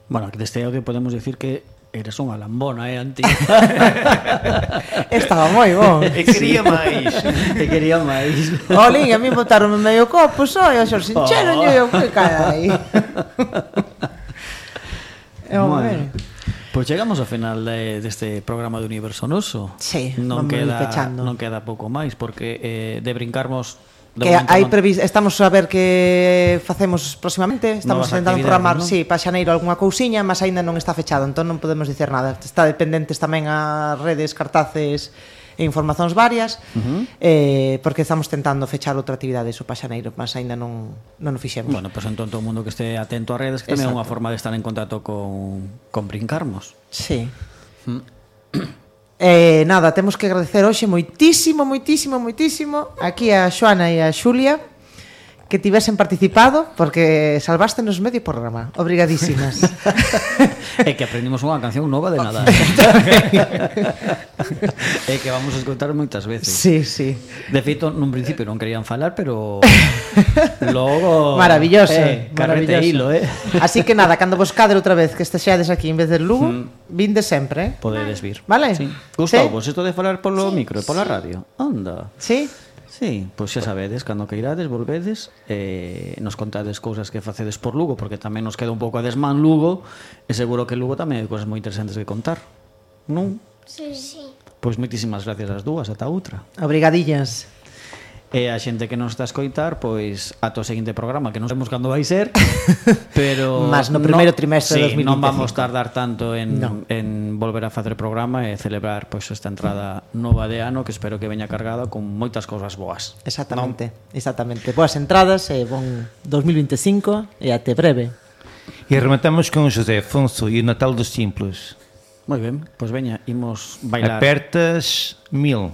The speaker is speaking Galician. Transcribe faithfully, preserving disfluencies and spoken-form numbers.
Bueno, que deste audio podemos decir que eres unha lambona, eh, Antía? Estaba moi bon. E quería máis. E quería máis. Olín, a mí botaron medio copo só e a xor sinchero, oh. Eu que cae aí. Bueno, pois pues chegamos ao final de, deste programa de Universo Noso. Sí, non vamos queda, pechando. Non queda pouco máis, porque eh, de brincarmos... Que hai previs, estamos a ver que facemos próximamente, estamos intentando programar, ¿no? Sí, para xaneiro algunha cousiña, mas aínda non está fechado, entón non podemos dicer nada. Está dependentes tamén as redes, cartaces e informacións varias, uh-huh. eh, porque estamos tentando fechar outra actividade iso para xaneiro, mas aínda non non o fixemos. Bueno, pois pues, entón todo o mundo que este atento ás redes, que tamén é unha forma de estar en contacto con con Brincarmos. Sí. Mm. Eh, nada, temos que agradecer hoxe moitísimo, moitísimo, moitísimo aquí a Xoana e a Xulia que tivesen participado, porque salvástenos medio programa. Obrigadísimas. É que aprendimos unha canción nova de nada. É que vamos a escoitar moitas veces. Sí, sí. De feito, nun principio non querían falar, pero logo... Maravilloso, eh, carrete hilo, eh. Así que nada, cando vos cadre outra vez que estexeades aquí en vez de Lugo, mm. vinde sempre, eh. Podedes vir. Vale? Sí. Gustavo, ¿Sí? isto de falar polo sí, micro e pola radio. Onda. Sí? Sí, pois xa sabedes, cando que irades, volvedes, eh, nos contades cousas que facedes por Lugo, porque tamén nos queda un pouco a desmán Lugo, e seguro que Lugo tamén hai cousas moi interesantes que contar, non? Sí, sí. Pois moitísimas gracias ás dúas, ata outra. Obrigadillas. E a xente que nos está a escoitar, pois ata o seguinte programa, que non sabemos cando vai ser, pero mas no primeiro no, trimestre sí, de dos mil veinticinco. Non vamos tardar tanto en, no. en volver a facer programa e celebrar pois esta entrada nova de ano, que espero que veña cargada con moitas cousas boas. Exactamente, ¿no? Exactamente. Boas entradas e bon dos mil veinticinco e até breve. E rematamos con José Afonso e o Natal dos Simples. Moi ben, pois veña, imos bailar. Apertas mil.